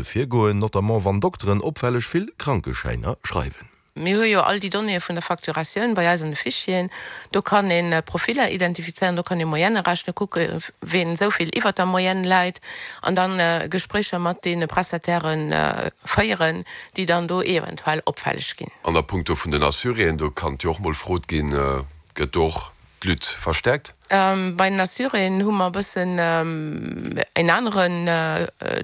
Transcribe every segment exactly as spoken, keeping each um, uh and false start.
Methode virgoen, notamment wann Dokteren opfälleg vill Krankeschäiner schreiwen. Mir hu jo all déi Donnéeë vun der Facturatioun bei eis an de Fichieren. Do kann een Profiller identifizéieren, do kann ee Moyenne rechnen, kucke ween esou vill iwwert der Moyenne läit an dann Gespréicher mat deene Prestatairë féieren, déi dann do eventuell opfälleg ginn. An a punkto vun den Assuréen, do kann jo och mol frot ginn, gëtt do och d'Lutte verstärkt? Bei den Assuréen hu mer e bëssen en aneren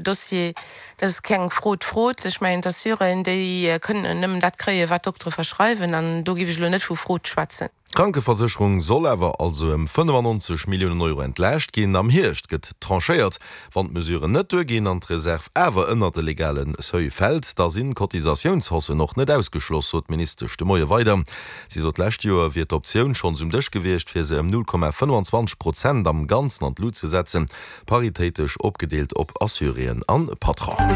Dossier. Dat ass keng Frot Frot. Ech mengen, d'Assuréen, déi kënnen nëmmen dat kréien, wat d'Doktere verschreiwen, an do géif ech elo net vu Frot schwätzen. D'Krankeversécherung soll awer also ëm fënnefannonzeg Milliounen Euro entlaascht ginn. Am Hierscht gëtt tranchéiert. Wann d'Mesuren net duerginn an d'Reserv awer ënnert de legale Seuil fält, da sinn Cotisatiounshaussen och net ausgeschloss, sot d'Ministesch de Moie weider. Si sot, d'lescht Joer wier d'Optioun schonns um Dësch gewiescht, fir se ëm null Komma fënnefanzwanzeg Prozent am Ganzen an d'Lut ze setzen, paritéitesch opgedeelt op Assuréen an Patronen.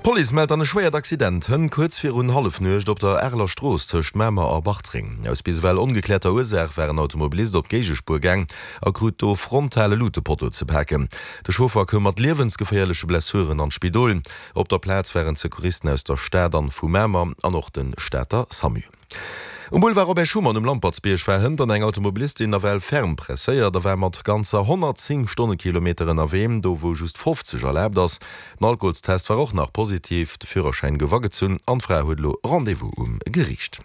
D'Police mellt an e schwéiert Accident hënt kuerz virun Hallefnuecht op der Areler Strooss tëscht Mamer a Bartreng. Aus bis ewell ongekläerter Ursaach war en Automobilist op d'Géigespuer gaang a krut do frontal e Lutepotto ze paken. De Chauffer koum mat liewensgeféierleche Blessuren an d'Spidol. Op der Plaz waren d'Secouristen aus der Stad an vu Mamer an och de Stater Samu. Um Boulevard Robert Schuman um Lampertsbierg war hënt an eng Automobilistin nawell ferm presséiert a war mat ganzer honnertzéng Stonnekilometer ënnerwee, do wou just fofzeg erlaabt ass. Den Alkoholstest war och nach positiv, de Führerschäin gouf agezunn an d'Fra huet elo Rendez-vous um Geriicht.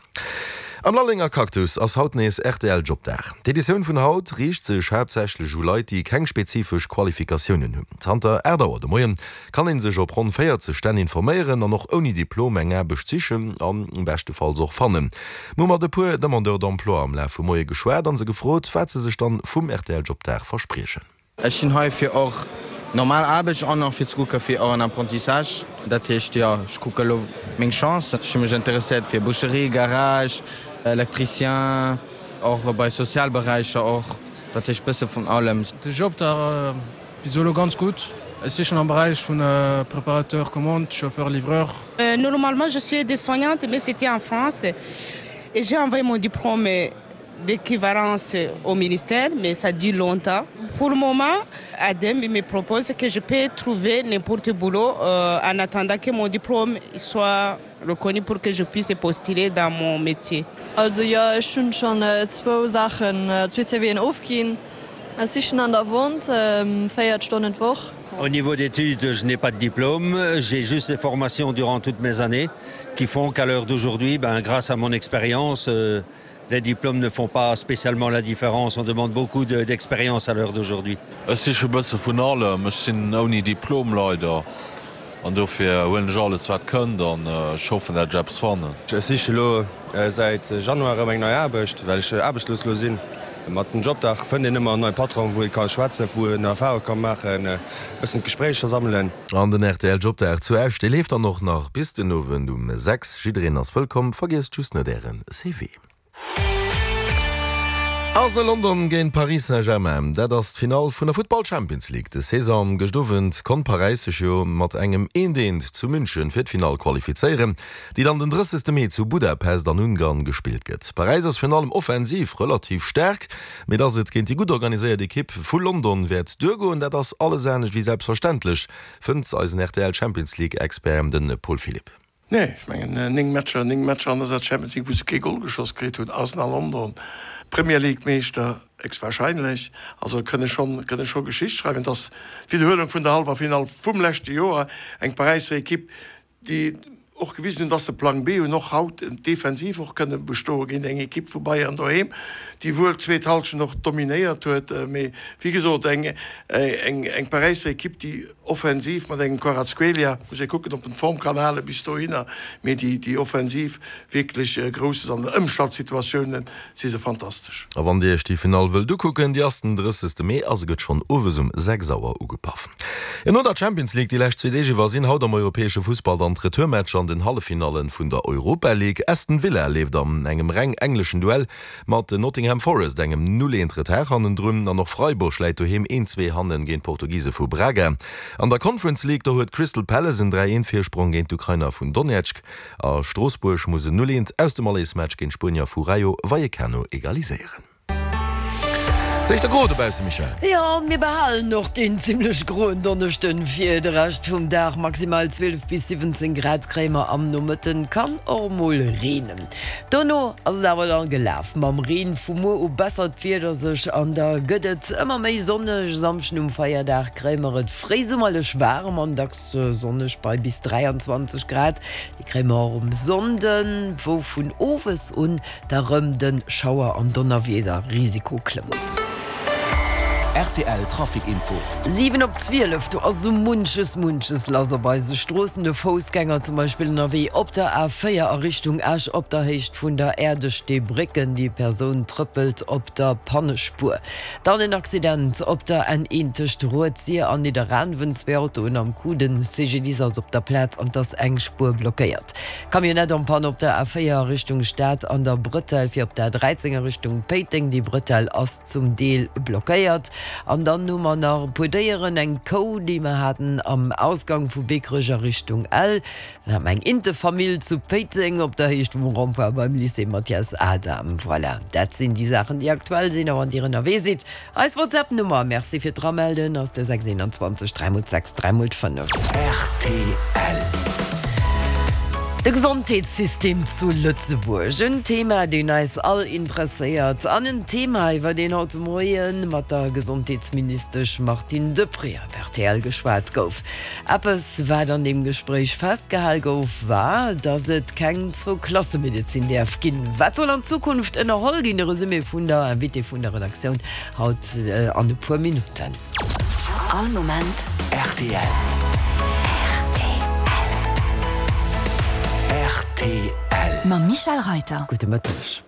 Am Lallenger Cactus ass haut nees rtl Jobdag. D'Editioun vun haut riicht sech haaptsächlech u Leit, déi keng spezifesch Qualifikatiounen hunn. Zanter aacht Auer de Moien kann ee sech op ronn véierzeg Stänn informéieren an och ouni Diplom eng Aarbecht sichen an beschtefalls och fannen. Mir hu mat e puer Demandeurs d'emploi am Laf vum Moie geschwat an se gefrot, wat se sech dann vum rtl Jobdag verspriechen. Ech sinn hei fir och normal Aarbecht an och fir ze kucke fir och en Apprentissage. Dat heescht, jo, ech kucke elo meng Chance. Ech hu mech interesséiert fir Boucherie, Garage, Electricien, och bei Sozialberäicher och. Dat heescht bësse vun allem. De Jobdag bis elo ganz gutt. Ech sichen am Beräich vun Préparateur commande, Chauffeur livreur. Normalement je suis aide-soignante mais c'était en France et j'ai envoyé mon diplôme d'équivalence au ministère mais ça dure longtemps. Pour le moment ADEM me propose que je peux trouver n'importe boulot en attendant que mon diplôme soit reconnu pour que je puisse postuler dans mon métier. Also jo, ech hunn schonn zwou Saachen, zwee CVen ofginn. Ech sichen an der Vente, véiert Stonnen d'Woch. Au niveau d'études, je n'ai pas de diplôme, j'ai juste des formations durant toutes mes années qui font qu'à l'heure d'aujourd'hui, ben, grâce à mon expérience, les diplômes ne font pas spécialement la différence, on demande beaucoup d'expérience à l'heure d'aujourd'hui. Ech siche bësse vun allem, ech sinn ouni Diplom leider an dofir huelen ech alles wat kënnt an ech hoffen dat ech eppes fannen. Ech siche lo säit Januar erëm eng nei Aarbecht, well ech aarbechtslos lo sinn. Mat dem Jobdag fënnt een ëmmer en neie Patron, wou ee ka schwätzen, wou een Erfarung ka maachen, e bëssen d'Gespréicher sammelen. An den rtl Jobdag zu Esch, dee leeft dann och nach bis den Owend um sechs. Jiddereen ass wëllkomm, vergiesst just net ären C V. Arsenal London géint Paris Saint-Germain, dat ass d'Finall vun der Futtball Champions League des Saison. Gëscht Owend konnt Paräis sech jo mat engem eent eent zu München fir d'Finall qualifizéieren, déi dann den drëssegste Mee zu Budapest an Ungarn gespillt gëtt. Paräis ass virun allem offensiv relativ staark, mee dass et géint déi gutt organiséiert Ekipp vu London wäert duergoen, dat ass alles anescht wéi selbstverständlech, fënnt eisen rtl Champions League Expert, de Paul Philipp. Nee, ech mengen néng Matcher, néng Matcher an dëser Champions League, wou se kee Gol geschoss kritt hunn. Arsenal London, Premier League Meeschter héchstwahrscheinlech. Also kënne schonn, kënne scho Geschicht schreiwen. Et ass d'Widderhuelung vun der Hallwerfinall vum leschte Joer. Eng Paräisser Ekipp, déi och gewisen hunn, dass se Plang B hunn, och haut defensiv och kënne bestoe géint eng Ekipp vu Bayern doheem, déi wuel d'zweet Hallschent och dominéiert huet. Mee wéi gesot, eng, eng, eng Paräisser Ekipp, déi offensiv mat engem Kvaratskhelia, muss ee kucken, ob en d'Form kann hale bis dohinner, mee déi, déi offensiv wierklech grouss ass. An der Ëmschaltsituatiounen si se fantastesch. A wann Dir Iech déi Finall wëllt ukucken, déi ass den drëssegste Mee a se gëtt schonn owes um sechs Auer ugepaff. Jo, no der Champions League déi lescht zwee Deeg iwwer sinn haut am europäesche Fussball dann d'Retourmatcher an den Halleffinallen vun der Europa League. Aston Villa leeft an engem reng engleschen Duell mat Nottingham Forest engem Null eent Retard hannendrun an och Freiburg läit doheem een zwee hannen géint d'Portugise vu Braga. An der Conference League do huet Crystal Palace en dräi eent Virsprong géint d'Ukrainer vun Donetsk a Stroossbuerg muss en Null eent aus dem Allersmatch géint d'Spuenier vu Rayo Vallecano egaliséieren. Et ass éischter gro dobausse, Michèle. Jo, mir behalen och deen zimmlech groen Donneschden fir de Rescht vum Dag. Maximal zwielef bis siwwenzéng Grad kréie mer am Nomëtten, kann och mol reenen. Dono ass et awer dann gelaf mam Reen. Vu muer u bessert d'Wieder sech an da gëtt et ëmmer méi sonneg. E Samschden um Feierdag kréie mer et fréisummerlech waarem an dacks sonneg bei bis dräianzwanzeg Grad. Déi kréie mer och um Sonnden, wou vun owes un da rëm de Schauer an Donnerwiederrisiko klëmmt. Rtl Trafic Info. Siwen op zwielef, do ass esou munches, munches lass op eise Stroossen. De Foussgänger zum Beispill ënnerwee op der A véier a Richtung Esch op der Héicht vun der Äerdesteebrécken. Déi Persoun trëppelt op der Pannespuer. Dann en Accident op der N een tëscht Rued-Sir an Nidderaanwen. Zwee Autoen am Coup. Den C G D I S ass op der Plaz an 't ass eng Spuer blockéiert. Camionnette en panne op der A véier a Richtung Stad an der Bretelle fir op der A dräizéng a Richtung Péiteng. Déi Bretelle ass zum Deel blockéiert. An dann hu mer nach e puer Déieren, eng Kou, déi mer haten am Ausgang vu Beekrech a Richtung Ell. Dann hat mer eng Intefamill zu Péiteng op der Héicht vum Rond-point beim Lycée Mathias Adam. Voilà, dat sinn déi Saachen, déi aktuell sinn. A wann Dir ënnerwee sidd, eis WhatsApp-Nummer, Merci fir d'Eramelden, ass de sechs eenanzwanzeg dräi mol sechs dräi mol fënnef. Rtl. De Gesondheetssystem zu Lëtzebuerg, en Thema, deen eis all interesséiert an en Thema, iwwer deen haut de Moie mat der Gesondheetsministesch Martine Deprez op R T L geschwat gouf. Eppes, wat an deem Gespréich festgehal gouf, war, datt et keng Zwou-Klasse-Medezin däerf ginn. Wat soll an Zukunft ënnerholl ginn? De Resumé vun der Invitée vun der Redaktioun haut an e puer Minutten. All Moment rtl. Rtl. Mam Michèle Reiter. Gudde Mëtteg.